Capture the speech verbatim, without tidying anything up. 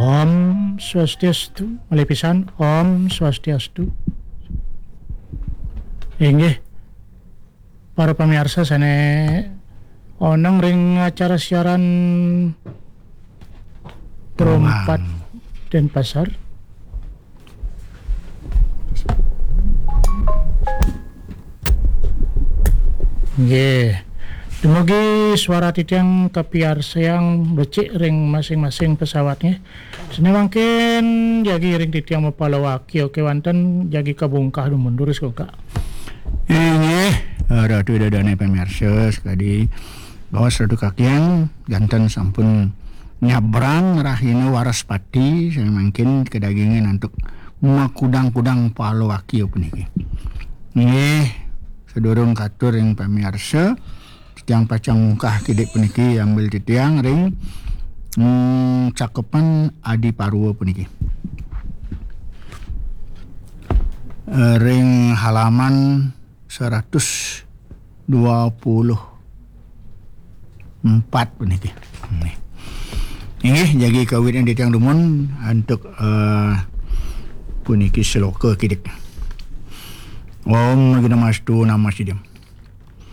Om Swastiastu, malih pisan, Om Swastiastu. Inggih, para pamiarsa sané oneng ring acara siaran Pro empat Denpasar. Nggih. Dumugi suara titiang kapiarsayang becik ring masing-masing pesawat, nggih. Sané mangkin jagi ring titiang mapalawaki, oké, wantah jagi kabungkah dumun durus, Kak. Inggih, Ratu Ida Dané pamiarsa sakadi, baos Ratu Kakiang janten sampun nyabrang rahina Waraspati, sané mangkin kadagingin antuk makudang-kudang palawaki puniki. Nggih, sadurung katur ring pamiarsa, titiang pacang mungkah kidik puniki ambil titiang ring, hmm, cakepan Adi Parwa puniki. Eh, ring halaman seratus dua puluh empat puniki. Nih. Inggih, jagi kawitnya titiang dumun antuk, eh, puniki sloka kidik. Om Agnamastu Namasidam.